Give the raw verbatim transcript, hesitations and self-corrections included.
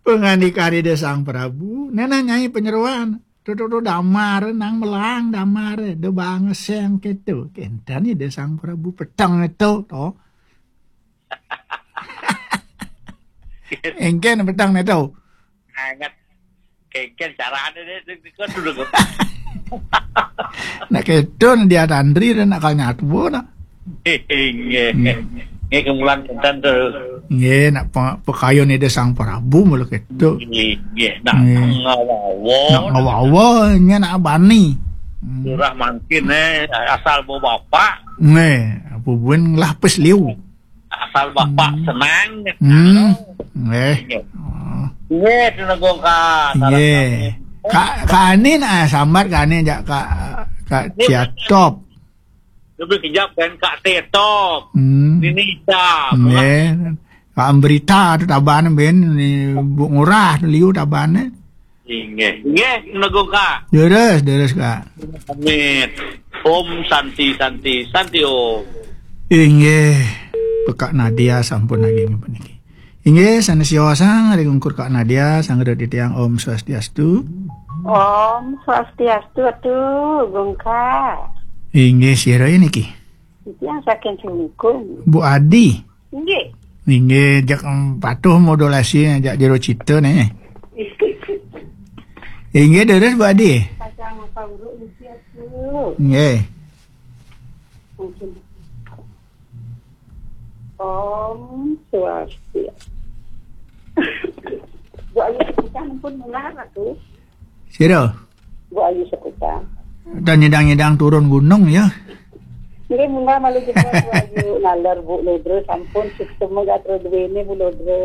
Pangandika Ida Sang Prabu, nana nyai panyeroan. Tutu tu damar nang melang damar, da bangeseng keto. Kenten Ida Sang Prabu peteng itu, to. Engken peteng itu. Anget. Keken carane deh, deh, deh, deh, deh. Nak keto dia tandri dan nak kal nyatu na. Nggih. Nggih, kemulan kenten tuh. Nggih, nak pe-, pekayon Ida Sang Prabu mula keto. Nggih, nggih. Nak ngawawa. Nak ngawawa, nya nak bani. Hmm. Lurah mangkin, eh, asal bawa bapak. Nggih, apa buin ngelah pes liu. Asal bapak senang. Hmm. Nggih. Nggih. Oh. Nggih, Tuna Gongka. Salam sami. Kak, Kak Ani nak sambat Kak Ani jak Kak, Kak Ciatop. Lebih kejap kan Kak Tetop. Hmm. Nini Ita. Nggih. Kak Ambrita tu taban ben ni Bu Ngurah tu liu taban ni. Inggih. Inggih, Tuna Gongka. Deres, deres, Kak. Amit. Om Santi, Santi, Santi Om. Inggih. Pekak Nadia sampun lagi niki. Inggih, sanes siosan ring ungkur Kak Nadia, sanget titiang Om Swastiastu. Om Swastiastu, atu, Gongka. Inggih, sira niki? Titiang saking Cungkung. Bu Adi. Inggih. Inggih, jak, em, patuh modulasi jak jero cita nih. Inggih, deres Bu Adi. Pasang apa uruk mesti atu. Inggih. Mungkin. Om Swastiastu. Bu Ayu Sekutan pun mula atu. Sira? Bu Ayu Sekutan. Dan nyedang-nyedang turun gunung ya. Nggih, mula malu juga Bu Ayu nalar Bu Lodre sampun sistem gatra duwene Bu Lodre.